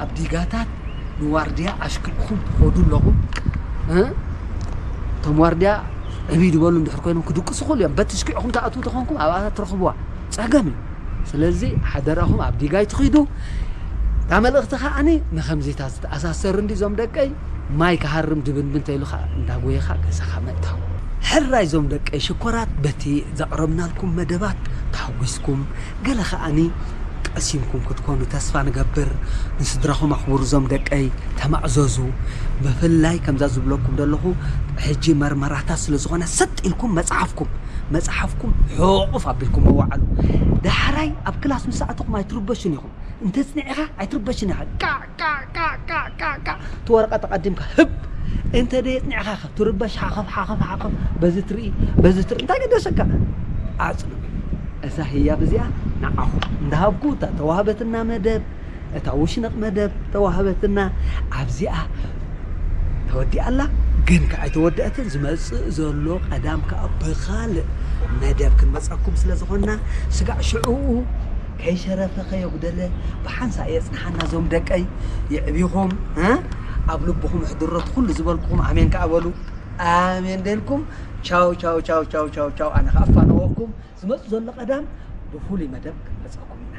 ኣብ ዲጋታት ንዋርድያ ኣሽክዕኹም ትኸዱ ኣለኹም። እ? እቶም ዋርድያ ዕብይ ዝበሉ እንድሕር ኮይኖም ክድቅሱ ይኽእሉ እዮም። በቲ ሽኪዕኹም ትኣትዉ ተኾንኩም ኣብኣ ትረኽብዋ። ጸገም እዩ። ስለዚ ሓደራኹም ኣብ ዲጋ ኣይትኺዱ። እታ መልእኽቲ ከዓኒ ንኸምዚታት ዝተኣሳሰር እንዲ እዞም ደቀይ ማይ ክሃርም ድብንብን ተይሉ ኸዓ እንዳጎየኻ ገዛኻ ምእታው። ሕራይ እዞም ደቀይ ሽኮራት በቲ ዘቕረብናልኩም መደባት ተሓጒስኩም ገለ ከዓኒ ቀሲንኩም ክትኮኑ ተስፋ ንገብር። ንስድራኹም ኣኽብሩ እዞም ደቀይ፣ ተማእዘዙ። ብፍላይ ከምዛ ዝብለኩም ዘለኹ ሕጂ መርመራታት ስለ ዝኾነ ሰጥ ኢልኩም መጽሓፍኩም መጽሓፍኩም ሕቑፍ ኣቢልኩም መዋዕሉ። ዳሕራይ ኣብ ክላስ ምስ ኣተኹም ኣይትርበሹን ኢኹም። እንተ ጽኒዕኻ ኣይትርበሽን ኢኻ። ቃ ቃ ቃ ቃ ቃ ቃ እቲ ወረቐት ኣቐዲምካ ህብ እንተ ደየጽኒዕኻ ትርበሽ ሓኸፍ ሓኸፍ ሓኸፍ በዚ ትርኢ በዚ ትርኢ እንታይ ገደሰካ? ኣጽንዑ። እዛ ህያብ እዚኣ ንዓኹም እንዳሃብኩ እታ ተዋህበትና መደብ እታ ውሽነቕ መደብ ተዋህበትና ኣብዚኣ ተወዲኣላ ግን ከኣ ኣይተወደአትን ዝመጽእ ዘሎ ቀዳም ከኣ ብኻልእ መደብ ክንመጸኩም ስለ ዝኾንና ስጋዕ ሽዕኡ ከይሸረፈ ከየጉደለ ብሓንሳእ የጽንሓና ዞም ደቀይ ይዕቢኹም እ ኣብ ልብኹም ሕድሮት ኩሉ ዝበልኩኹም ኣሜን ከኣ በሉ ኣሜን ደልኩም ቻው ቻው ቻው ቻው ቻው ቻው ኣነ ከኣ ኣፋነወኩም ዝመጽእ ዘሎ ቀዳም ብፍሉይ መደብ ክንመጸኩም ኢና